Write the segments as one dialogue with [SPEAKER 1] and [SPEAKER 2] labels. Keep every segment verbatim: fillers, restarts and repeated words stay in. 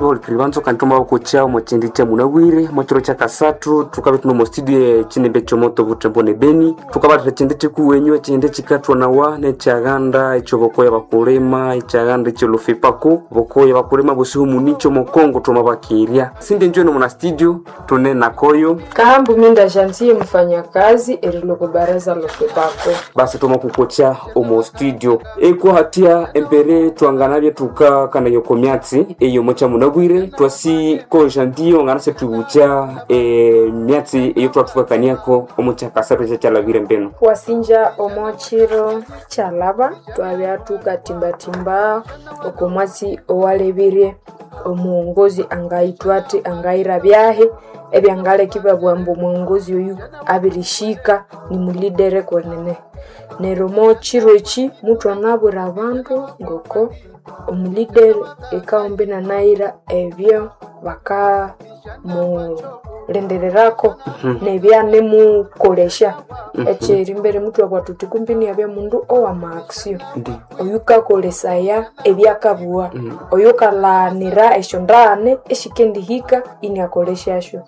[SPEAKER 1] Olukiri kantoma bakucha omo chindi cha munabwire mochiro cha kasathu tukabe tuno mu studio echinimbe chomoto butembo ne beni tukabatira chindi chikuwenywa chindi chikathwanawa nechaghanda echo bokoya bakulima echaghanda echo lufipako bokoya bakulima busihu municho mokongo twamabakirya sindi njweno muna studio tune nakoyo
[SPEAKER 2] Kahambu minda jantie mfanyakazi eriloko baraza lofepako
[SPEAKER 1] basi twamakukocha omu studio ekuhatia embere twanganabye tukakanaya oko myatsi eyo mocha munabwire twasi koja ndiyo nganase tubucha e, myatsi eyo twathukakaniako omu kyakasathu ekyakyalabire mbeno
[SPEAKER 2] wasinja omo chiro kyalaba twabya tukatimbatimba oko mwatsi owalebirye omuwongozi angayithwa athi angayira byahi ebyangaleka ibabugha ambu omuwongozi oyu abirishika nimulidere kwenene neryo omo chiro eki muthwanabwira abandu ngoko omulidere ekawumbi inanayira ebyo bakamulindirirako nebyanemukolesya ekyerimbere muthwabugha thuthi kumbi iniyabya mundu owama action
[SPEAKER 1] ndi
[SPEAKER 2] oyukakolesaya ebyakabugha oyukalhanira esyondaghane esyikendihika iniakolesyasyo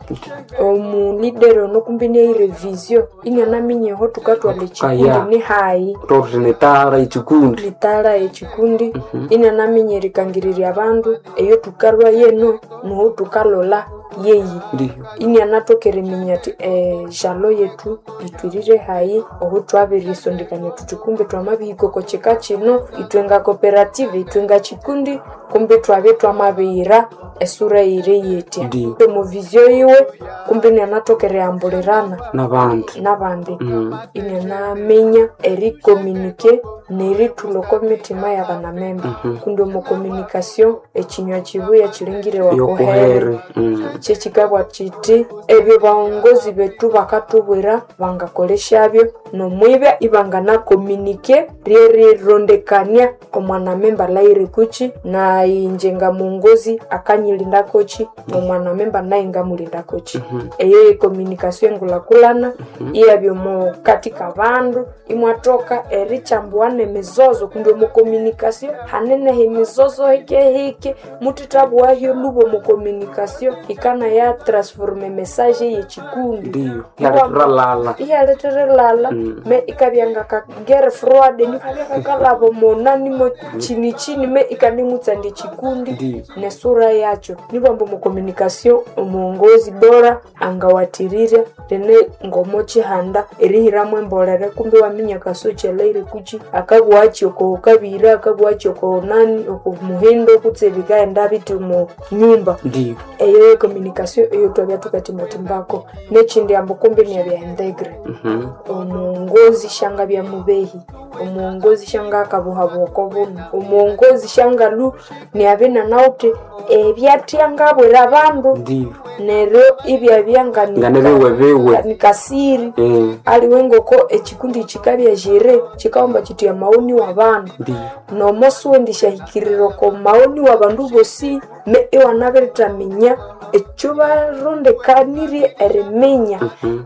[SPEAKER 2] omulidere ono kumbi iniaghira evisio inianaminya aho thukathwalha ekikundi
[SPEAKER 1] Kaya.
[SPEAKER 2] nihayi
[SPEAKER 1] tothuthi nitara ekikundi
[SPEAKER 2] litara ekikundi inianaminya erikangirirya abandu eyo thukalhwa yeno noho thukalolha yeyi
[SPEAKER 1] ndiyo
[SPEAKER 2] inianathoka eriminya athi ejalo yethu ithwirire hayi oho thwabirisondekania thuthi kumbi twamabihika oko kika kino ithwe nga cooperative ithwe nga kikundi kumbi twabye twamabiyira esura yire yetya
[SPEAKER 1] Ndiyo.
[SPEAKER 2] omu visio yiwe kumbi inianathoka erihambulirana
[SPEAKER 1] nabandi
[SPEAKER 2] nabandi
[SPEAKER 1] mm.
[SPEAKER 2] inianaminya erikomunike nerithulha oko mitima yabanamemba kundi omu communication ekinywa kibuya kilingire wakuhere
[SPEAKER 1] yokuhere mm.
[SPEAKER 2] kyekikabwa kiti ebyo baongozi bethu bakathubwira bangakolesyabyo nomwibya ibanganakomunike ryerirondekania omwanamemba alahire kuki nayi nga muongozi akanyilindakoki nomwanamemba naye ngamulindakoki eyo ye communication engulhakulhana iyabya omo kati kabandu imwathoka erichambuana emizozo kundi omu communication haneneho emizozo hikehike muthithabughayo lhuba omu communication ikana ya transforma message yekikundi
[SPEAKER 1] ndiyo yaletralala
[SPEAKER 2] iyaletherelalha
[SPEAKER 1] Mm.
[SPEAKER 2] me ikabya ngaka guerre froide nikabya kakalhaba omonani mo chini chini me ikanimutsandya ekikundi
[SPEAKER 1] Ndiyo.
[SPEAKER 2] nesura yakyo nibwamba omu communication omuongozi bora angawathirirya rene ngomo chihanda erihiramu embolere kumbi waminya kasuchi alahire kuchi akabughachi oko kabira akabughachi oko nani oko muhindo kutse bikaghenda bithi omu nyumba
[SPEAKER 1] ndiyo
[SPEAKER 2] eyo ye communication eyo twabya tukatimba-timbako nekindi ambu kumbi niabya integre
[SPEAKER 1] Mhm.
[SPEAKER 2] omuongozi shangabya mubehi omuongozi shangakabuhabuha oko buno omuongozi shangalu niabya inanawithe ebyathya ngabwira abandu
[SPEAKER 1] ndiyo
[SPEAKER 2] neryo ibyabya ngani-
[SPEAKER 1] nganebiwebiwe
[SPEAKER 2] nikasiri
[SPEAKER 1] Eh,
[SPEAKER 2] aliwe ngoko ekikundi kikabya jere kikawomba kithi amaoni wabandu
[SPEAKER 1] ndiyo
[SPEAKER 2] nomo siwendishahikirira oko maoni wabandu bosi me iwanabirithaminya ekyo barondekanirye eriminya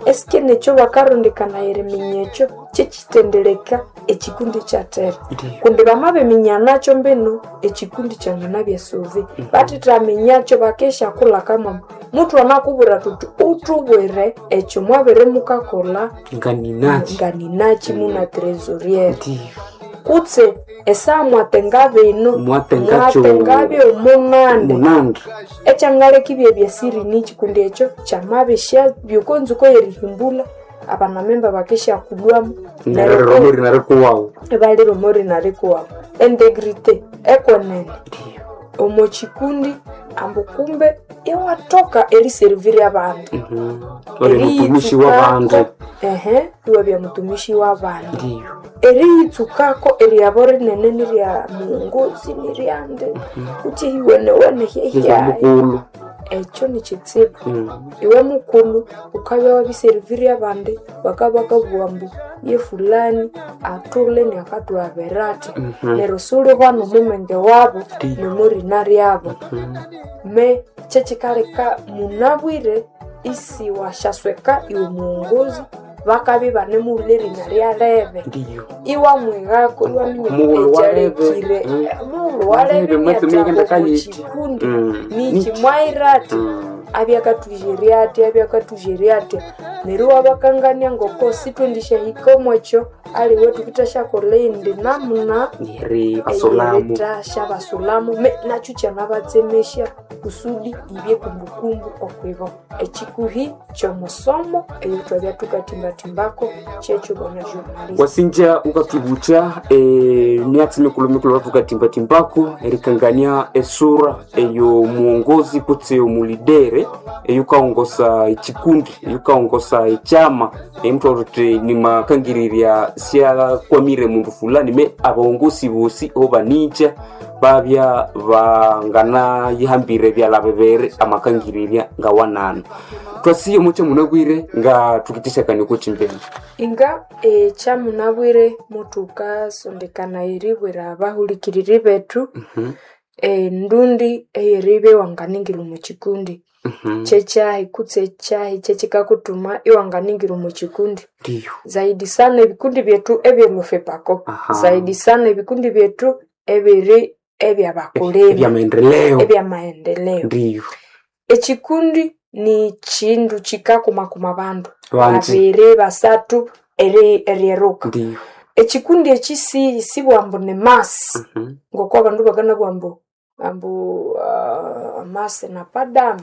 [SPEAKER 2] esike nekyo bakarondekana eriminya ekyo kyekitendeleka ekikundi kyathera
[SPEAKER 1] Ndiyo.
[SPEAKER 2] kundi bamabiminya nakyo mbino ekikundi kyanganabya suvi bathithaminyakyo bakesyakulha muthu anakubwira thuthi uthubwire ekyo mwabere mukakolha
[SPEAKER 1] nganinaki
[SPEAKER 2] nganinaki muna trésoriere
[SPEAKER 1] ndiyo
[SPEAKER 2] kutse esaa mwatenga bino
[SPEAKER 1] Mwatenga kyo-
[SPEAKER 2] mwatengabyo munande
[SPEAKER 1] munandi
[SPEAKER 2] ekyangaleka ibye byesiri niki kundi ekyo kyamabisya byokonzuko yerihimbula abanamemba bakesyakulwamu
[SPEAKER 1] nereromori narikuwawu
[SPEAKER 2] ibaliromori narikuwawu entegrite ekwenene omo kikundi ambu kumbe iwathoka eriserivira abandu
[SPEAKER 1] ori mutumishi w'abandu
[SPEAKER 2] ehe iwabya mutumishi w'abandu
[SPEAKER 1] ndiyo
[SPEAKER 2] eriyitsukako eryabo rinene nirya muongozi niryande kuti iwenewene
[SPEAKER 1] nirya
[SPEAKER 2] hyehyai
[SPEAKER 1] mukulu
[SPEAKER 2] ekyo nikitsibu
[SPEAKER 1] Mm.
[SPEAKER 2] iwe mukulu ukabya wabiserivira abandi bakabakabugha ambu ye fulani athule niakathuhabira athi neryo siwulihwana omumenge wabo nomurina ryabo me kyekikaleka munabwire isiwasyasweka iwe muongozi bakabya ibanemuwulha erinya lya Lebe.
[SPEAKER 1] Ndiyo.
[SPEAKER 2] Iwamwigako iwaminya
[SPEAKER 1] Mughulhu wa Lebe.
[SPEAKER 2] ekyalekire
[SPEAKER 1] Mm.
[SPEAKER 2] mughulhu wa Lebe
[SPEAKER 1] Lebe, mwatsi muyigenda
[SPEAKER 2] niathaba
[SPEAKER 1] kayiti.
[SPEAKER 2] omukikundi
[SPEAKER 1] Mm.
[SPEAKER 2] niki
[SPEAKER 1] Niki.
[SPEAKER 2] mwaira athi
[SPEAKER 1] Mm.
[SPEAKER 2] abyakathujerya athi abyakathujerya athi neryo iwabakangania ngoko sithwendishahika omwekyo aliwe thukithasyakolha eyindi namuna
[SPEAKER 1] Neri basulamu.
[SPEAKER 2] eyeritasyabasulhamu me nakyo kyamabatsemesya kusudi ibye kumbukumbu okwibo. Ekikuhi kyomusomo eyo thwabya thukathimbathimbaku kyekyo bwana journalist.
[SPEAKER 1] Wasinja ukatubutya eh, myatsi mikulu mikulu tukatimba-timbako erikangania esura eyo muongozi kutse omulidere eyukaongosa ekikundi eyukaongosa ekyama emuthu uthi nimakangirirya syakwamire mundu fulani me abaongosi bosi obanikya babya banganayihambire ebyala bibiri amakangirirya ngawananu. Twasiye omukya munabwire nga thukithishakania oko kimbene.
[SPEAKER 2] Inga ekyamunabwire muthukasondekana eribwira abahulikiriri bethu
[SPEAKER 1] Mhm.
[SPEAKER 2] endundi eyeribya iwanganingira omu kikundi.
[SPEAKER 1] Mhm.
[SPEAKER 2] Kyekyahi kutse ekyahi kyekikakuthuma iwanganingira omu kikundi.
[SPEAKER 1] Ndiyo.
[SPEAKER 2] Zaidi sana ebikundi byethu ebyolufepako.
[SPEAKER 1] Aha.
[SPEAKER 2] Zaidi sana ebikundi byethu ebiri ebyabakulima.
[SPEAKER 1] Ebyamaendeleo.
[SPEAKER 2] Ebyamaendeleo.
[SPEAKER 1] Ndiyo.
[SPEAKER 2] Ekikundi ni kindu kikakumakuma abandu.
[SPEAKER 1] Banji.
[SPEAKER 2] Babiri, basathu eri eryeruka.
[SPEAKER 1] Ndiyo.
[SPEAKER 2] Ekikundi eki si sibwambu ni masi
[SPEAKER 1] Mhm.
[SPEAKER 2] ngoko abandu bakanabugha ambu ambu uh, masi napadamu.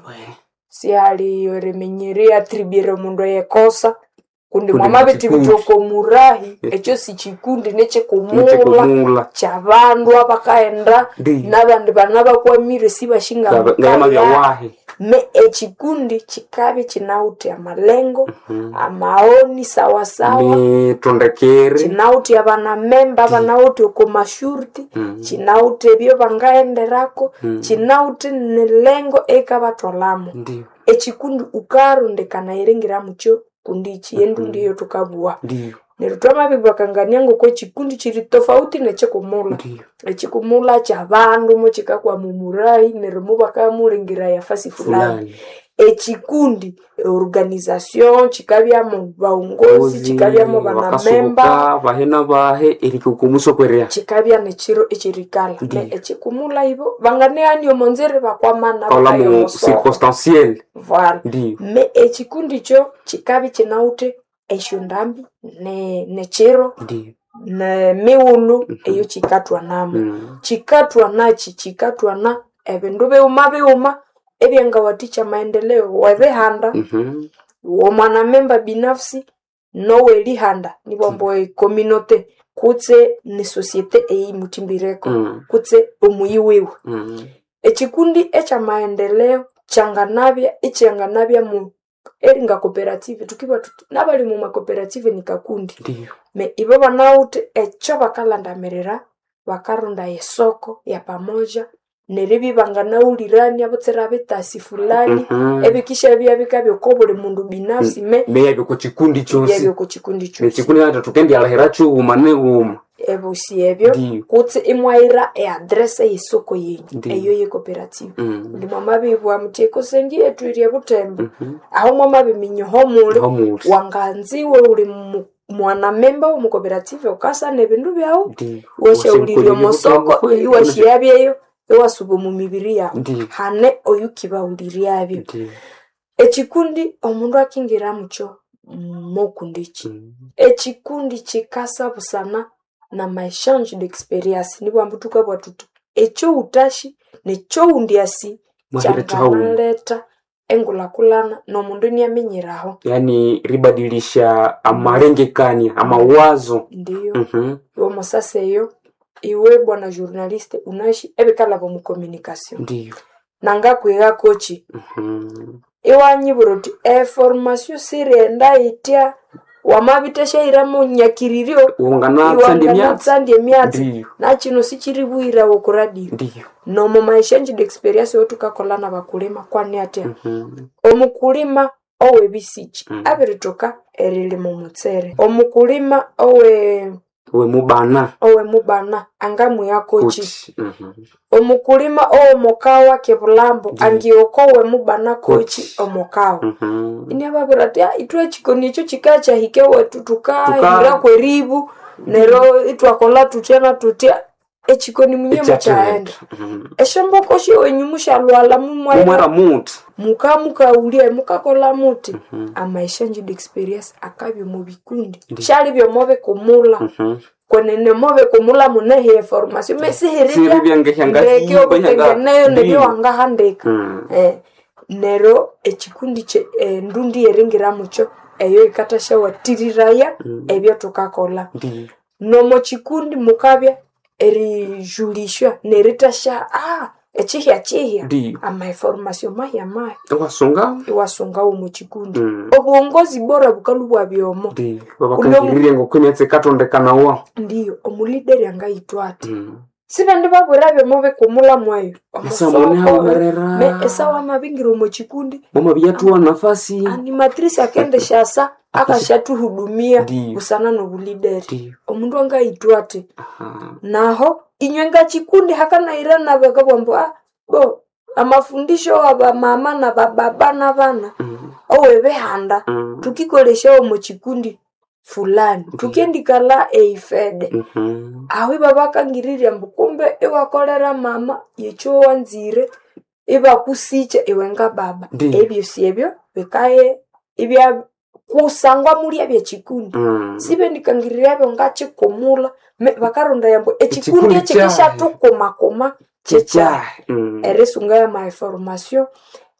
[SPEAKER 2] Sihali eriminyerya atribire omundu eyekosa kundi
[SPEAKER 1] Kundi
[SPEAKER 2] mwamabithibitha
[SPEAKER 1] nikikundi.
[SPEAKER 2] oko murahi ekyo sikikundi nekyikumulha
[SPEAKER 1] Nikikumula.
[SPEAKER 2] kyabandu abakaghenda
[SPEAKER 1] Ndiyo.
[SPEAKER 2] nabandi banabakwamire sibashinga
[SPEAKER 1] Ngayamabya wahi.
[SPEAKER 2] Me ekikundi kikabya kinawithe amalengo, amaoni sawasawa,
[SPEAKER 1] Mitondekere.
[SPEAKER 2] kinawithe abanamemba abanawithe oko mashurti,
[SPEAKER 1] Mm.
[SPEAKER 2] kinawithe ebyo bangaghenderako,
[SPEAKER 1] Mm.
[SPEAKER 2] kinawithe nelengo eyikabathwalhamu.
[SPEAKER 1] Ndiyo.
[SPEAKER 2] Ekikundi wukarondekana eringira mukyo kundi iki endundi eyo thukabugha.
[SPEAKER 1] Ndiyo.
[SPEAKER 2] Neryo twamabibakangania ngoko ekikundi kiri tofauti nekyikumulha.
[SPEAKER 1] Ndiyo.
[SPEAKER 2] Ekyikumulha kyabandu mukikakwama omurahi neryo mubakamulengera yafasi fulani.
[SPEAKER 1] Fulani.
[SPEAKER 2] Ekikundi organization kikabyamu baghongozi, kikabyamu banamemba,
[SPEAKER 1] bakasubuka bahe nabahe erikukumusokerya.
[SPEAKER 2] kikabya nekyiro ekyerikalha. Ne
[SPEAKER 1] Ndiyo.
[SPEAKER 2] ekikumulha ibo banganehania omonzere bakwamana
[SPEAKER 1] Kaula
[SPEAKER 2] bakaya
[SPEAKER 1] mu
[SPEAKER 2] omosoko.
[SPEAKER 1] circonstanciel.
[SPEAKER 2] Voilà.
[SPEAKER 1] Ndiyo.
[SPEAKER 2] Me ekikundi kyo kikabya kinawithe esyondambi ne nekyiro
[SPEAKER 1] Ndiyo.
[SPEAKER 2] nemighulhu eyo kikathwanamu.
[SPEAKER 1] Mm.
[SPEAKER 2] Kikathwanaki? Kikathwana ebindu bighuma bighuma ebyangawathikya amaendeleo webihanda,
[SPEAKER 1] Mhm.
[SPEAKER 2] womwanamemba binafsi nowelihanda nibwambu ecommunauté kutse ni société eyimuthimbireko
[SPEAKER 1] Mm.
[SPEAKER 2] kutse omuyi wiwe.
[SPEAKER 1] Mm.
[SPEAKER 2] Ekikundi ekyamaendeleo kyanganabya ikyanganabya mu eringa cooperative thukibugha thuthi nabali omu cooperative nikakundi.
[SPEAKER 1] Ndiyo.
[SPEAKER 2] Me ibo banawithe ekyo bakalhandamirira bakarondaya esoko yapamoja neribya ibanganawulirania butsira bitasi fulani
[SPEAKER 1] Mhm.
[SPEAKER 2] ebikishabya bikabya oko buli mundu binafsi me
[SPEAKER 1] Meyabya oko kikundi kyosi.
[SPEAKER 2] byabya oko kikundi kyosi.
[SPEAKER 1] Nekikundi nathu thukendyalhira kighuma nighuma.
[SPEAKER 2] Ebosi ebyo
[SPEAKER 1] Ndiyo.
[SPEAKER 2] kutse imwayira eadress eyesoko yenyu
[SPEAKER 1] Ndiyo.
[SPEAKER 2] eyo ye cooperative.
[SPEAKER 1] Mm.
[SPEAKER 2] Kundi mwamabibugha muthi ekosengi yethu iri ebuthembo
[SPEAKER 1] Mhm.
[SPEAKER 2] aho mwamabiminya ohomuli
[SPEAKER 1] Homuli.
[SPEAKER 2] wanganziwe wuli mu- mwanamemba womu cooperative wukasana ebindu byawu
[SPEAKER 1] Ndiyo.
[SPEAKER 2] iwasyawulirya omosoko iwasyabyeyo iwasuba omu mibiri yawu
[SPEAKER 1] Ndiyo.
[SPEAKER 2] hane oyukibawuliryabyo.
[SPEAKER 1] Ndiyo.
[SPEAKER 2] Ekikundi omundu akingira mukyo mokundiki.
[SPEAKER 1] Mm.
[SPEAKER 2] Ekikundi kikasa busana nama exchange d'experience nibwambu thukabugha thuthi ekyowuthasi nekyowundi asi
[SPEAKER 1] Mwahira kihawuma.
[SPEAKER 2] kyanganaletha engulhakulhana nomundu iniaminyiraho.
[SPEAKER 1] Yaani ribadilisha amalengekania amawazo.
[SPEAKER 2] Ndiyo.
[SPEAKER 1] Mhm.
[SPEAKER 2] Iwomusasa eyo iwe bwana journaliste unasi ebikalhaba omu communication.
[SPEAKER 1] Ndiyo.
[SPEAKER 2] Nangakwighakokyi
[SPEAKER 1] Mhm.
[SPEAKER 2] iwanyibwira uthi eformation sirighenda yitya wamabithasyahiramu nyakiriryo
[SPEAKER 1] Wanganatsandya emyatsi.
[SPEAKER 2] iwanganatsandya emyatsi
[SPEAKER 1] Ndiyo.
[SPEAKER 2] nakino sikiribughirawa oku radio.
[SPEAKER 1] Ndiyo.
[SPEAKER 2] Nomu ma exchange d'experience eyathukakolha nabakulima kwani atya
[SPEAKER 1] Mhm.
[SPEAKER 2] omukulima owebisikyi
[SPEAKER 1] Mm.
[SPEAKER 2] abirithoka erilima omutsere, omukulima owe
[SPEAKER 1] We mubana.
[SPEAKER 2] Owe mubana angamwiha kochi.
[SPEAKER 1] Kochi. Mhm.
[SPEAKER 2] Omukulima owomukawa kebulambo
[SPEAKER 1] Ndiyo.
[SPEAKER 2] angioko owe mubana kochi
[SPEAKER 1] Kochi.
[SPEAKER 2] omukawa.
[SPEAKER 1] Mhm.
[SPEAKER 2] Iniababwira ati "Ah, ithwe echikoni ekyo kikakyahika ewethu tukahira
[SPEAKER 1] Tuka-
[SPEAKER 2] kweribu neryo ithwakolha thuthya na thuthya echikoni munye mukyaghenda."
[SPEAKER 1] Ekyathehenda. Mhm.
[SPEAKER 2] Esyomboko syowenyu mushalwala mumwaira
[SPEAKER 1] Mumwera muthi.
[SPEAKER 2] mukamukawulya mukakolha muthi.
[SPEAKER 1] Mhm.
[SPEAKER 2] Amaexchange d'experience akabya omu bikundi.
[SPEAKER 1] Ndiyo.
[SPEAKER 2] Syalibya omo bikumula.
[SPEAKER 1] Mhm.
[SPEAKER 2] Kwenene omo bikumula muneho eformation
[SPEAKER 1] Siribya
[SPEAKER 2] mesihiribya
[SPEAKER 1] ngehyangahi
[SPEAKER 2] ndeke obutengeneyo
[SPEAKER 1] Ndiyo.
[SPEAKER 2] nebyowangahandika.
[SPEAKER 1] Mm.
[SPEAKER 2] Eh, neryo ekikundi kye endundi yeringira mukyo eyo yikathasyawathiririraya
[SPEAKER 1] Mm.
[SPEAKER 2] ebyathukakolha.
[SPEAKER 1] Ndiyo.
[SPEAKER 2] Nomo kikundi mukabya erijulishwa nerithasya ah ekihya kihya
[SPEAKER 1] Ndiyo.
[SPEAKER 2] amainformation mahya mahya
[SPEAKER 1] Iwasunga.
[SPEAKER 2] iwasungawo omu kikundi.
[SPEAKER 1] Mm.
[SPEAKER 2] Obuwongozi bora bukalhwa ibwabya omo.
[SPEAKER 1] Ndiyo. Babakangirire ngoko emyatsi ikatondekanawa.
[SPEAKER 2] Ndiyo, omulideri angayithwa athi.
[SPEAKER 1] Mm.
[SPEAKER 2] Sibendi babwira byomo bikumula mweyo.
[SPEAKER 1] Esa mune haumerera.
[SPEAKER 2] Me esawa amabingira omu kikundi
[SPEAKER 1] Mama nafasi.
[SPEAKER 2] animatrice akendeshasa akashathuhudumia
[SPEAKER 1] Ndiyo.
[SPEAKER 2] busana nobulideri.
[SPEAKER 1] Ndiyo.
[SPEAKER 2] Omundu angayithwa athi.
[SPEAKER 1] Aha.
[SPEAKER 2] Naho inywe ngakikundi hakanayirana bakabugha ambu ah bo amafundisho abamama nabababa nabana
[SPEAKER 1] Mm.
[SPEAKER 2] owebihanda
[SPEAKER 1] Mm.
[SPEAKER 2] thukikolesya omu kikundi fulani thukendikalha eifede.
[SPEAKER 1] Mhm.
[SPEAKER 2] Aho ibabakangirirya ambu kumbe iwakolera mama yekyo wanzire ibakusikya iwe ngababa.
[SPEAKER 1] Ndiyo.
[SPEAKER 2] Ebyosi ebyo bikaye ibya kusangwa mulya byekikundi.
[SPEAKER 1] Mm.
[SPEAKER 2] Sibendikangirirabyo ngakikumula me- bakarondaya ambu ekikundi
[SPEAKER 1] Ekikundi
[SPEAKER 2] eki
[SPEAKER 1] kyahi.
[SPEAKER 2] kishathukumakuma kyekyahi.
[SPEAKER 1] Kyekyahĩ. Mm.
[SPEAKER 2] Erisunga yamainformation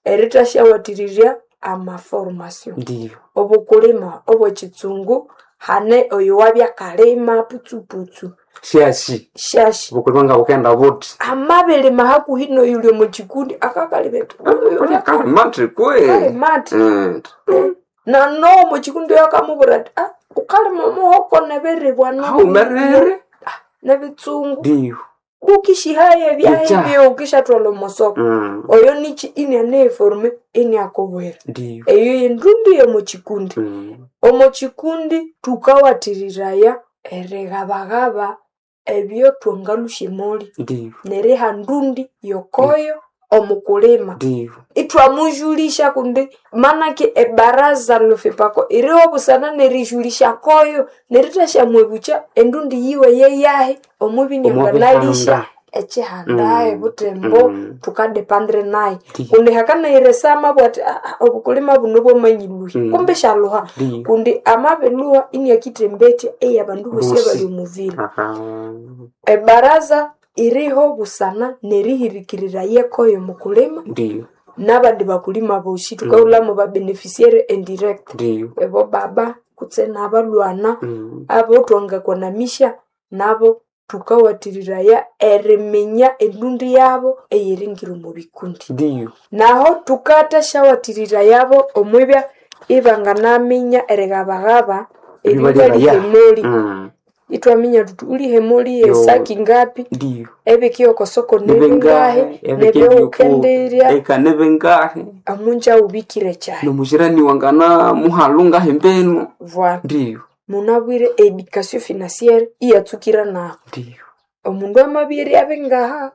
[SPEAKER 2] erithasyawathiririrya amaformation.
[SPEAKER 1] Ndiyo.
[SPEAKER 2] Obukulima obwekitsungu hane oyo wabyakalima putsuputsu
[SPEAKER 1] Syashi.
[SPEAKER 2] syashi.
[SPEAKER 1] Obukulima nga bukenda buthi.
[SPEAKER 2] Amabirima hakuhi noyuli omu kikundi akakalima athi, "Oyo
[SPEAKER 1] Kalima athi kwe.
[SPEAKER 2] akalima athi."
[SPEAKER 1] Mm.
[SPEAKER 2] Nanowo omu kikundi oyo akamubwira athi ah wukalima omuhoko nebiribwa
[SPEAKER 1] Haumerere.
[SPEAKER 2] nebitsungu
[SPEAKER 1] Ndiyo.
[SPEAKER 2] bukishihaye
[SPEAKER 1] Ekyahi.
[SPEAKER 2] ebyahebyo wukisyathwalha omusoko.
[SPEAKER 1] Mm.
[SPEAKER 2] Oyo niki inianeyiforme iniakubwira.
[SPEAKER 1] Ndiyo.
[SPEAKER 2] Eyo yendundi yomu kikundi.
[SPEAKER 1] Mm.
[SPEAKER 2] Omu kikundi thukawathiriraya erighabahaba ebyothwangalhusya emoli
[SPEAKER 1] Ndiyo.
[SPEAKER 2] neriha ndundi yokoyo omukulima.
[SPEAKER 1] Ndiyo.
[SPEAKER 2] Ithwamujulisya kundi manake ebaraza lofepako iriho busana nerijulisya koyo nerithasya-mwebukya endundi yiwe yeyahi omubinyanganalisya
[SPEAKER 1] Omubihanda.
[SPEAKER 2] ekihanda
[SPEAKER 1] Mm.
[SPEAKER 2] ebutembo
[SPEAKER 1] Mm.
[SPEAKER 2] thukadepandire naye.
[SPEAKER 1] Ndiyo.
[SPEAKER 2] Kundi hakanayira esama abugha athi "Ah, ah, obukulima buno bwamanyilhuhya"
[SPEAKER 1] Mm.
[SPEAKER 2] kumbe isyaluha.
[SPEAKER 1] Ndiyo.
[SPEAKER 2] Kundi amabilhuha iniakithembetya eyabandu bosi
[SPEAKER 1] Bosi.
[SPEAKER 2] abali omuvila.
[SPEAKER 1] Aha.
[SPEAKER 2] Ebaraza iriho busana nerihirikiriraya ekoyo mukulima
[SPEAKER 1] Ndiyo.
[SPEAKER 2] nabandi bakulima bosi thukahulhamu babeneficiaire indirect.
[SPEAKER 1] Ndiyo.
[SPEAKER 2] Ebo baba kutse nabalhwana
[SPEAKER 1] Mm.
[SPEAKER 2] abo thwangakonamisya nabo thukawathiriraya eriminya endundi yabo eyeringira omu bikundi.
[SPEAKER 1] Ndiyo.
[SPEAKER 2] Naho thukathasyawathirirayabo omwibya ibanganaminya erighabaghaba
[SPEAKER 1] Ebibaliraya.
[SPEAKER 2] ebibalya emoli.
[SPEAKER 1] Mm.
[SPEAKER 2] Ithwaminya thuthi uliha emoli
[SPEAKER 1] Yo.
[SPEAKER 2] yesaki ngapi,
[SPEAKER 1] Ndiyo.
[SPEAKER 2] ebiki okosoko nibingahi,
[SPEAKER 1] Nibengahi.
[SPEAKER 2] nebyowukendirya
[SPEAKER 1] Eka nibengahi.
[SPEAKER 2] omunja wubikire kyahi.
[SPEAKER 1] Nomujirani wangana muhalu ngahi mbenu.
[SPEAKER 2] Voilà.
[SPEAKER 1] Ndiyo.
[SPEAKER 2] Munabwire education financière iyatsukira nahu.
[SPEAKER 1] Ndiyo.
[SPEAKER 2] Omundu amabya eryabi ngaha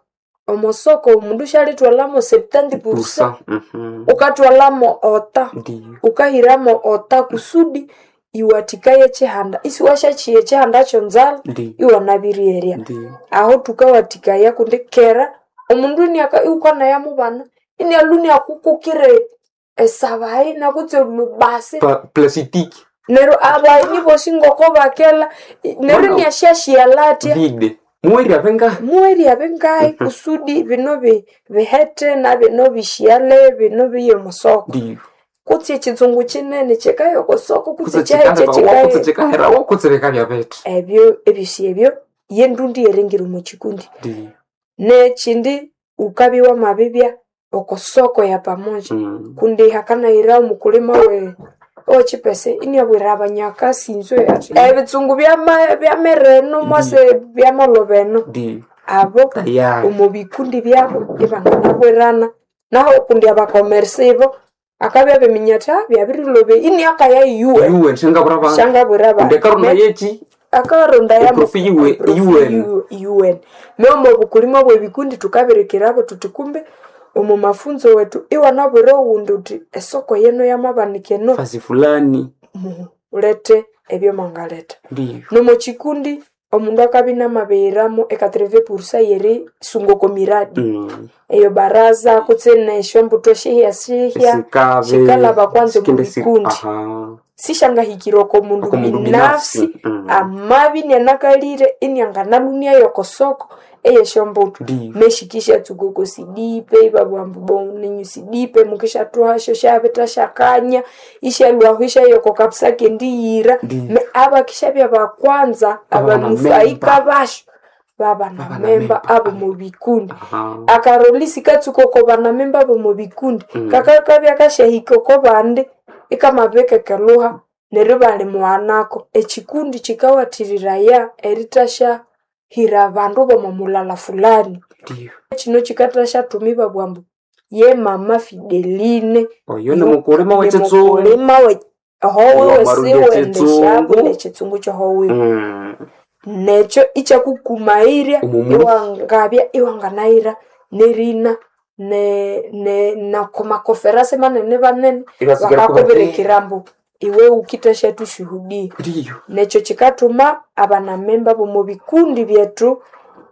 [SPEAKER 2] omosoko omundu syalithwalhamo seventy
[SPEAKER 1] Busa.
[SPEAKER 2] percent
[SPEAKER 1] Mhm.
[SPEAKER 2] wukathwalhamo ota
[SPEAKER 1] Ndiyo.
[SPEAKER 2] wukahiramo ota kusudi iwathikaye ekihanda isiwasyakiya ekihanda kyonzalha
[SPEAKER 1] Ndiyo.
[SPEAKER 2] iwanabiriyerya.
[SPEAKER 1] Ndiyo.
[SPEAKER 2] Aho thukawathikaya kundi kera omundu iniaka iwukanaya mubana inialhwa iniakukukira esabayi nakutse olubasi
[SPEAKER 1] Pa plasitiki.
[SPEAKER 2] neryo abayeni bosi ngoko bakela neryo
[SPEAKER 1] Mwana-
[SPEAKER 2] iniasyasiyalha athya
[SPEAKER 1] Vide. Muweri abengahi.
[SPEAKER 2] muwerya bingahi kusudi bino bi- bihete na bino bishiyale bino biye omusoko.
[SPEAKER 1] Ndiyo.
[SPEAKER 2] Kutse ekitsungu kinene kyikaya okosoko kutse
[SPEAKER 1] Kutse
[SPEAKER 2] ekyahi
[SPEAKER 1] chikaherawo, kutse
[SPEAKER 2] kyekikaya
[SPEAKER 1] chikaherawo, kutse bikabya bithi.
[SPEAKER 2] ebyo ebyosi ebyo yendundi yeringira omu kikundi.
[SPEAKER 1] Ndiyo.
[SPEAKER 2] Nekindi wukabya wamabibya okosoko ya pamoja
[SPEAKER 1] Mm.
[SPEAKER 2] kundi hakanayira omukulima we owekipese iniabwira abanyakasinzwe athi ebitsungu byama- byamereno mwase byamolhoba eno
[SPEAKER 1] Ndiyo.
[SPEAKER 2] abo
[SPEAKER 1] Tayari.
[SPEAKER 2] omu bikundi byabo ibanganabwirana naho kundi abakomersa ibo akabya abiminya athi "Ah, byabirilhoba iniakaya yuwe
[SPEAKER 1] Yuwe nshangabura bantu.
[SPEAKER 2] shangabwira
[SPEAKER 1] Kundi
[SPEAKER 2] abandu
[SPEAKER 1] karuna yeki
[SPEAKER 2] Akaronda ya
[SPEAKER 1] Eprofi iwe- iwene.
[SPEAKER 2] iwene meomo obukulima bwebikundi tukabirikirabo tuti kumbe omu mafunzo wetu iwanabwira owundi uti esoko yeno yamabanika eno
[SPEAKER 1] Fasi fulani
[SPEAKER 2] mulete ebyomwangaleta
[SPEAKER 1] ndiyo
[SPEAKER 2] nomo chikundi omundu akabya namabihiramo ekatreve pursa yeri sunga oko miradi
[SPEAKER 1] Mm.
[SPEAKER 2] eyo baraza kutse neshyombuto shihya shihya
[SPEAKER 1] Sikabe
[SPEAKER 2] shikalaba kwanza omu
[SPEAKER 1] sikende si-
[SPEAKER 2] bikundi
[SPEAKER 1] aha
[SPEAKER 2] sishangahikira oko mundu
[SPEAKER 1] Oko mundu
[SPEAKER 2] binafsi
[SPEAKER 1] binafsi. Mm.
[SPEAKER 2] amabi nianakalire inianganalunia yokosoko eyeshyombuto
[SPEAKER 1] Ndiyo.
[SPEAKER 2] meshikisha tsukoko sidipe ibabwambu boninyu sidipe mukishathuhasho shabita shakanya ishalwaho ishayoko kabisa kendiyira
[SPEAKER 1] Ndiyo.
[SPEAKER 2] me abakishabya bakwanza abanufaika
[SPEAKER 1] Abanamemba.
[SPEAKER 2] basho babanamemba
[SPEAKER 1] Babanamemba.
[SPEAKER 2] abo mubikundi
[SPEAKER 1] aha
[SPEAKER 2] akarolisi katsuka oko banamemba bomu bikundi
[SPEAKER 1] Mm.
[SPEAKER 2] kakakabya kashahika oko bandi ikamabikekeluha neryo bali muwanako ekikundi kikawathiriraya erithashahira abandu bomo mulala fulani
[SPEAKER 1] ndiyo
[SPEAKER 2] kino kikathashathuma ibabugha ambu ye mama Fideline
[SPEAKER 1] oyo ni mukulima wekitsungu
[SPEAKER 2] mukulima we howiwe
[SPEAKER 1] Wamarulya
[SPEAKER 2] siwendeshabu
[SPEAKER 1] ekitsungu.
[SPEAKER 2] nekitsungu kyohowiwe
[SPEAKER 1] Mm.
[SPEAKER 2] nekyo ikyakukumairya
[SPEAKER 1] Omumuli.
[SPEAKER 2] iwangabya iwanganayira nerina ne ne nakomakoferase manene banene
[SPEAKER 1] Ibasigara
[SPEAKER 2] bakakubirikira mbu iwe ukithasha tushuhudia
[SPEAKER 1] ndiyo
[SPEAKER 2] nekyo kikathuma abanamemba bomu bikundi byethu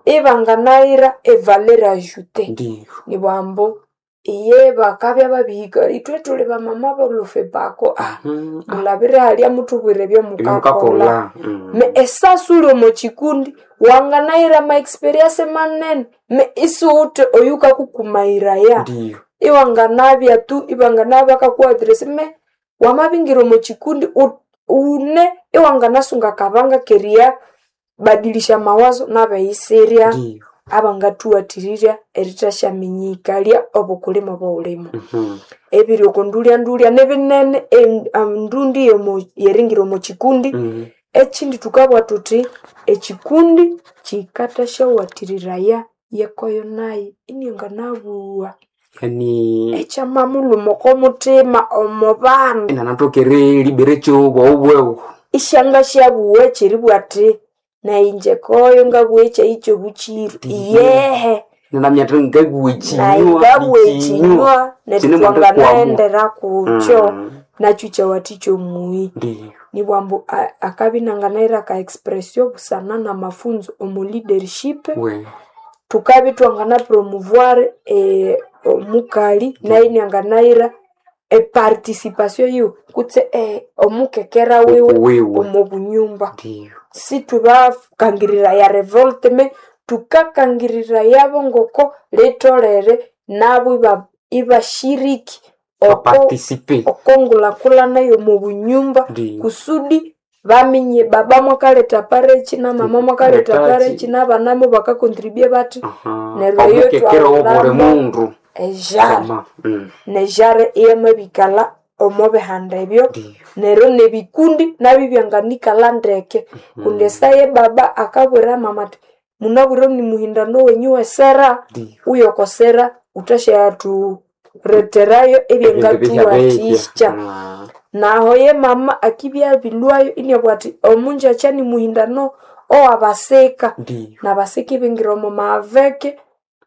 [SPEAKER 2] ibanganayira evaleur ajoutée
[SPEAKER 1] ndiyo
[SPEAKER 2] nibwambu iye bakabya babihika ithwe thuli bamama bolufebako ah
[SPEAKER 1] Mm.
[SPEAKER 2] mulabire halya muthubwire ebyomukakolha
[SPEAKER 1] ebyomukakola Mm.
[SPEAKER 2] me esasi uli omo kikundi wanganayira ma experience manene me isiwuthe oyukakukumayiraya
[SPEAKER 1] ndiyo
[SPEAKER 2] iwanganabya tu iwanganabya bakakuadresi me wamabingira omo kikundi u- une iwanganasunga akabanga keria badilisha mawazo nabeyisirya
[SPEAKER 1] ndiyo
[SPEAKER 2] abangathuwathirirya erithasyaminyikalya obukulima obuwulimo
[SPEAKER 1] Mhm.
[SPEAKER 2] ebiri oko ndulya-ndulya nibinene em- ndundi yomo- yeringira omo kikundi
[SPEAKER 1] Mm.
[SPEAKER 2] ekindi thukabugha thuthi ekikundi kikathasyawathiriraya yekoyo nayi ininganabuwa
[SPEAKER 1] yani
[SPEAKER 2] ekyamamulhuma oko muthima omo bandu
[SPEAKER 1] inanatokere libere kyo bwewu
[SPEAKER 2] isyangasyabuwa ekyeribugha athi nayinje koyo ngabuwa ekyayi kyobukiru
[SPEAKER 1] Ndiyo.
[SPEAKER 2] iyehe
[SPEAKER 1] nanamyatha ngabuwa
[SPEAKER 2] nayi
[SPEAKER 1] ekinywa
[SPEAKER 2] ngabuwa
[SPEAKER 1] ikinywa
[SPEAKER 2] ekinywa neryo
[SPEAKER 1] Kine mwanda kwamu.
[SPEAKER 2] twanganaendera kukyo
[SPEAKER 1] Mm.
[SPEAKER 2] nakyo kyawathikya omuyi
[SPEAKER 1] ndiyo
[SPEAKER 2] nibwambu a- akabya inanganaira ka expression busana na mafunzo omu leadership
[SPEAKER 1] we
[SPEAKER 2] thukabya twangana promouvoir eh, omukali nayo inanganaira eparticipation yiwe kutse eh, omukekera wiwe
[SPEAKER 1] Okuwiwe.
[SPEAKER 2] omu bunyumba
[SPEAKER 1] ndiyo
[SPEAKER 2] situbakangirira ya revolte me tukakangirira yabo ngoko litolere nabo iba- ibashiriki oko
[SPEAKER 1] bapartisipe
[SPEAKER 2] okongulakulana yomu bunyumba
[SPEAKER 1] Ndiyo.
[SPEAKER 2] kusudi baminye baba mwakaleta parechi na mama mwakaleta
[SPEAKER 1] Letachi.
[SPEAKER 2] parechi n'abanamo bakakontribue bati
[SPEAKER 1] Aha.
[SPEAKER 2] neryo eyo
[SPEAKER 1] omukekera wobuli
[SPEAKER 2] twahulamo
[SPEAKER 1] mundu
[SPEAKER 2] ejare
[SPEAKER 1] Ama, mm.
[SPEAKER 2] nejare iyamabikala omo bihanda ebyo
[SPEAKER 1] Ndiyo.
[SPEAKER 2] neryo nebikundi nabyo byanganikala ndeke kundi esaye baba akabwira mama ati munabwire ni muhindano wenyu wesera
[SPEAKER 1] Ndiyo.
[SPEAKER 2] uyokosera uthashyatureterayo ebyangatuwathikya
[SPEAKER 1] Ah.
[SPEAKER 2] naho ye mama akibya bilwayo iniabugha athi omunjakya ni muhindano owabasika
[SPEAKER 1] Ndiyo.
[SPEAKER 2] nabasika ibingira omo maveke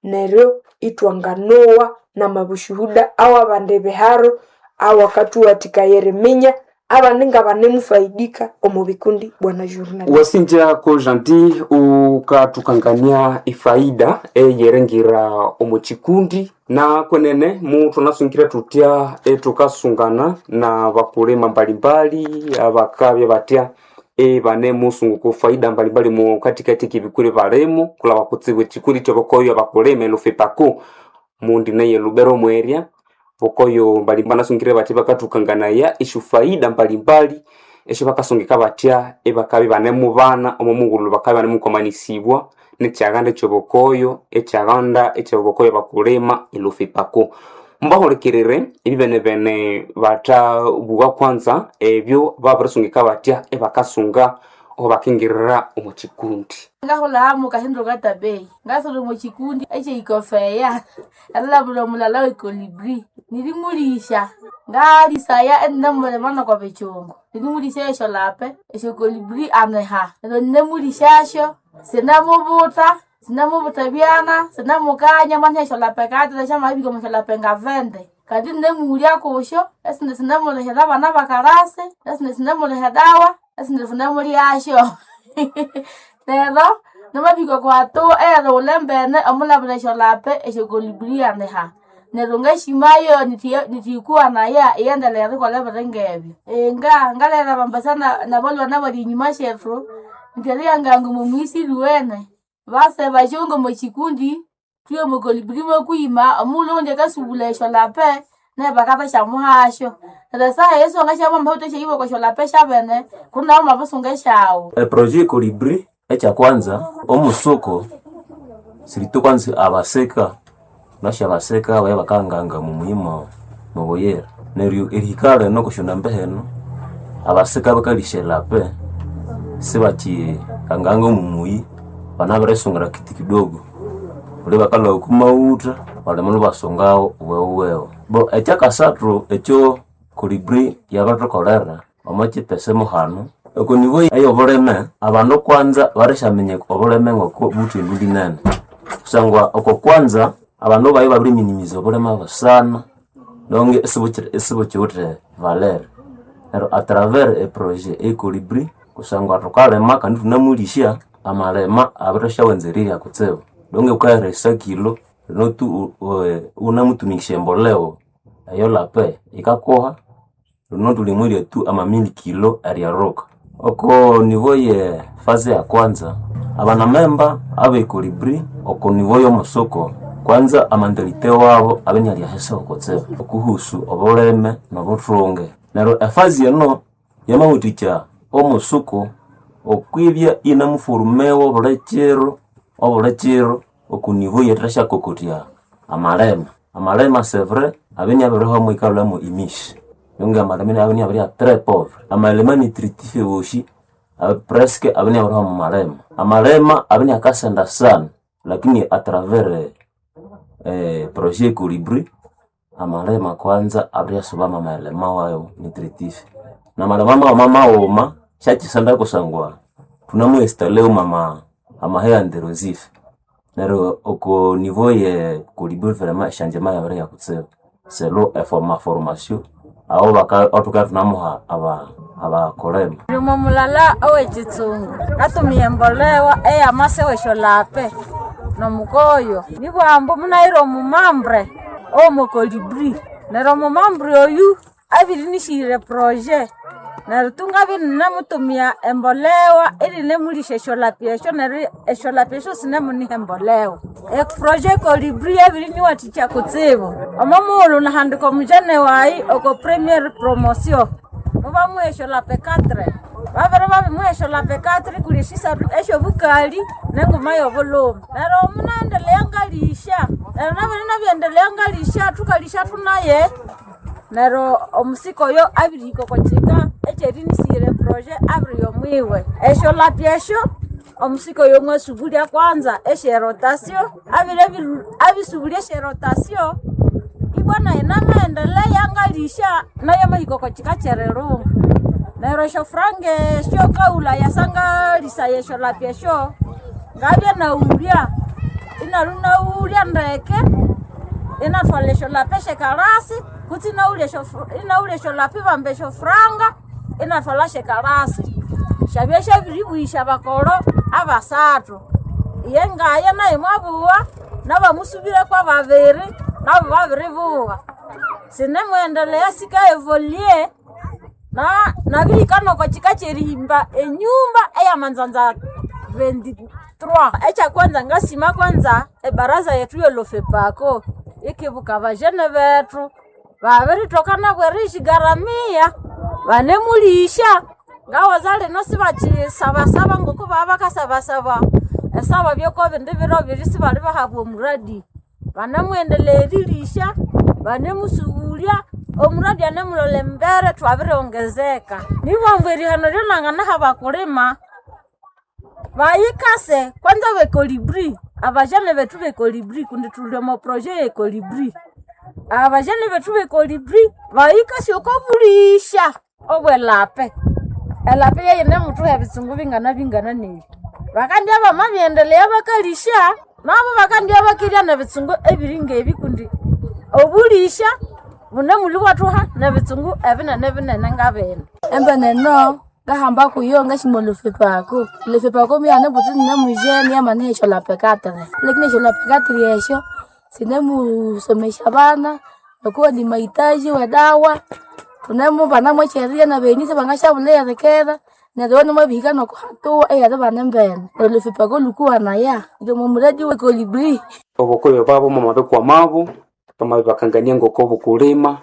[SPEAKER 2] neryo itwanganowa namabushuhuda awabandi biharo awakathuwathikaya eriminya abandi ngabanemufaidika omu bikundi bwana journalist
[SPEAKER 1] wasinjako janti ukathukangania ifaida eyeringira omu kikundi na kwenene muthunasungire tutya etukasungana na bakulima mbalimbali abakabya batya ebanemusunguku faida mbalimbali mu katikati kibikuri balimo kulaba kutsibu ekikundi kyobokoyo abakulima elufipako mundi neye lubero mwerya bokoyo mbalimbali nasungire bati bakathukanganaya esyo faida mbalimbali esyo bakasungika batya ebakabya banemubana omo mughulhu bakabya banemukwamanisibwa nekyaghanda ekyobokoyo ekyaghanda ekyobokoyo bakulima elufipako mbahulikirire ebibenebene bathabugha kwanza ebyo babirisungika batya ebakasunga oho bakingirira omu kikundi
[SPEAKER 3] ngahulamo kahindo katabei ngasolo muchikundi echeikofeya alalabula mulala wekolibri nilimulisha Ngalisaya enemulima noko bichungu. Nimulisha esyo lape, esyo kolibri aneha. Neryo ninemulishasyo, sinamubuta, sinamubuta byana, sinamukanya mwana esyo lape kati syamabika omo syolape ngavende. Kandi ninemulya kusyo, esindi sinemulihira abana bakarasi, esindi sinemuliha edawa, esindi sinemulyasyo. Neryo namabika okwa hatua eyerighulha embene omulabira esyolape esyo kolibri aneha. Neryo ngashimayo nithiyikuwanaya iyendelea erikolha ebiri ngebyo. Inga ngalera abambesa nabalhwana abali enyuma syethu indi eriyanganga omo muyisi lyuwene base basyonga omo kikundi thuye omo kolibri mokwima omughulhu owundi akasubulha esyolape nayo bakabasyamuhasyo. Neryo esaha eyo siwangasyabya wamawithe esyahibwa oko syolape syabene kundi nawu wamabisunga esyawu.
[SPEAKER 4] Eprojet Colibri ekyakwanza omusuko siritu kwanza abaseka nasha abaseka abaya bakanganga mumuyima mubuyira neryo erihika lino kusyonambe heno abaseka bakalisya elape sibakyi kanganga omumuyi banabirisungira kiti kidogo kuli bakalhwa oku maghutha balima ibasungawo wewewe. Bo ekyakasathu ekyo Colibri yabirithukolera omo kyipesa muhanu oko nivo eyobulime abandu kwanza barisyaminya obulime ngoko buwithe erindu linene kusangwa oko kwanza abandu bayi babiriminimiza obulime busana nonge isibukiwithe valere. Neryo atravers eprojet e Colibri kusangwa thukalima kandi ithunamulisya amalima abirisyawanza erirya kutsibu donge wukaheresa kilo lino tu wunamutumikisya emboleo eyo lape yikakuha lino thulimwirya tu amamili kilo eryeruka. Oko nivo ye faze ya kwanza abanamemba abe Colibri oko nivo yomusuko kwanza amantalite wabo abe iniali ahisi kutsibu okuhusu obulime nobuthunge. Neryo efazi eno yamawathikya omusuku okwibya inamufurumewa obuli kiro obuli kiro oku nivo eyerithasyakokothya amalima. Amalima c'est vrai abe inabirihwamu ikalhwamu emisi nonga amalima inabya inabiribya très pauvre. Amalima nutritif wosi presque abe inabirihwa omu malima. Amalima abe iniakasenda sana lakini atravers projet Colibri amalima kwanza abiriyasubamu amalima wayo nutritif namalima maghuma maghuma syakyisenda kusangwa thunamuinstalleu ama amahe anderosif neryo oko nivo ye Colibri vraiment esyangyema yabirihya kutsibu selo amaformasyo aho abathukabya ithunamuha abakulima.
[SPEAKER 5] Ndimo mulala owekitsungu ngatumia embolewa eyamase weshyolape nomukoyo nibwambu munayira omumambre owomo Colibri neryo omumambre oyu abirinishyira eproje neryo tu ngabya ininamutumia embolewa irinemulisya esyolapi esyo neryo esyolapi esyo sinemuniha embolewa. Eproje Colibri yabiriniwathikya kutsibu omo mughulhu nahandika omujene wayi oko premier promotion mubamuha esyolape quatre babere babimuha esyolape quatre kuli esyisathu esyobukali nenguma yobulhume neryo munaendelea ngalisya neryo nabere nabyendelea ngalisya thukalisya thunaye neryo omusika oyo abirihika oko kyika ekyerinisire eproje abiriya omwiwe. Esyolapi esyo omusika oyo mwasubulya kwanza esyerotasyo abire abisubulya esyerotasyo ibwa nayi namaendelea ngalisya nayo amahika oko kyika kyerirunga. Neryo esyofuranga esyo kaghulaya sangalisaya esyolapi esyo ngabya naghulya inalwa inaghulya ndeke inathwalha esyolapi esyekalasi kutse inaghulya inaghulya esyolapi ibamba esyofuranga inathwalha syekalasi. Syabya syabiribuyisya abakolho abasathu iye ngaye nayo mwabugha nabamusubireko babiri nabo babiribugha. Sinemwendelea sikaevolye na nabirihika noko kyika kyerihimba enyumba eyamanzanza twenty-three. Ekyakwanza ngasima kwanza ebaraza yethu yolofepako ikibuka abajene bethu babirithoka nabo eriyishigaramia banemulisya ngawaza lino sibakyisabasaba ngoko baba bakasabasaba esaba byoko bindi biro biri sibalibahabwa omuradi. Banemwendelea erilisya banemusubulya omuradi anemulolha embere thwabiriongezeka. Nibwambu erihano lyonanganaha abakulima bayikase kwanza be Colibri abajene bethu be Colibri kundi thuli omo projet ye Colibri. Abajene bethu bekolibri bahikasi okobulisha obwelape. Elape yeyine muthuha ebitsungu bingana bingana nebi. Bakandya bamabyendelea bakalisha, nabo bakandya bakirya nebitsungu ebiri ngebi kundi obulisha bune muli bwathuha nebitsungu ebinene binene ngabino.
[SPEAKER 3] Embeneno ngahamba kuyo ngashima olufipako olufipako muyane buthi nine mujene yamaniha esyo katire lakini esyo katire esyo sinemusomesya abana okuwa ni mahitaji wedawa thunemubana mwekyeriya nabenisi bangashabulha erikera neryo iwe nimwabihika nokuhatuwa eyeribana embene neryo olufipako lukuwanaya ngomomuradi wekolibri.
[SPEAKER 1] Obukoyo babo mwamabikwamabo bamabibakangania ngoko bukulima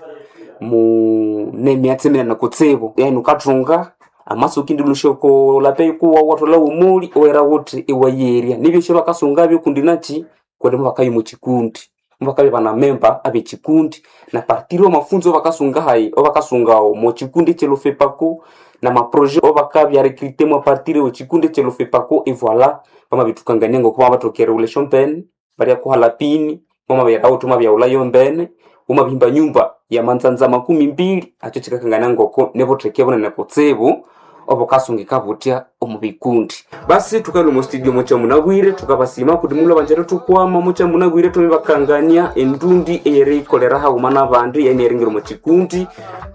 [SPEAKER 1] mu nemyatsi minene kutsibu yani ukathunga amasuki ndilusha oko lape kuwa wathola womuli owera wuthi iwayerya nibyo bakasungabyo kundi nachi kundi mubakabya mukikundi mubakabya banamemba abekikundi na partiri wamafunzo bakasunga hayi obakasungawo mukikundi kyelufepako na maproje obakabya recruté mwa partiri wekikundi kyelufepako evoila bamabithukangania ngoko babatokere ulesho mbene barya kuhala pini mwamabyerawo thumabyaghulhayo mbene wamabihimba nyumba ya manzanza makumi mbili akyo kikakangania ngoko nibutheke bunene kutsibu obukasungika buthya omu bikundi. Basi thukalwa omu studio mukyamunabwire thukabasima kundi mulhwa banjere thukwama mukyamunabwire thumibakangania endundi eyeriyikolera haghuma nabandi yani eringira omu kikundi.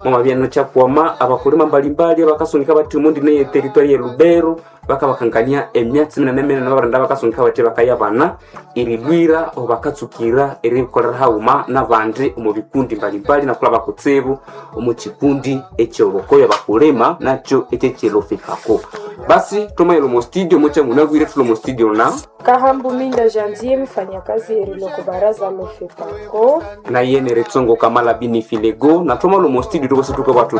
[SPEAKER 1] Mwamabya nokyakwama abakulima mbalimbali abakasungika bathi omundi neye territory ye Lubero bakabakangania emyatsi minene minene babarinda bakasungika bathi bakayabana erilwira obo bakatsukira erikolera haghuma nabandi omu bikundi mbalimbali nakulaba kutsibu omu kikundi ekyobukoyo bakulima nakyo ekyekyilufipako. Basi thumayira omu studio mukyamunabwire thuli omu studio na
[SPEAKER 2] Kahambu Minda Janvier, mfanyakazi eriloko baraza lofepako
[SPEAKER 1] naye neritsongo kamala bini filego nathomala omu studio thukosi thukabathu.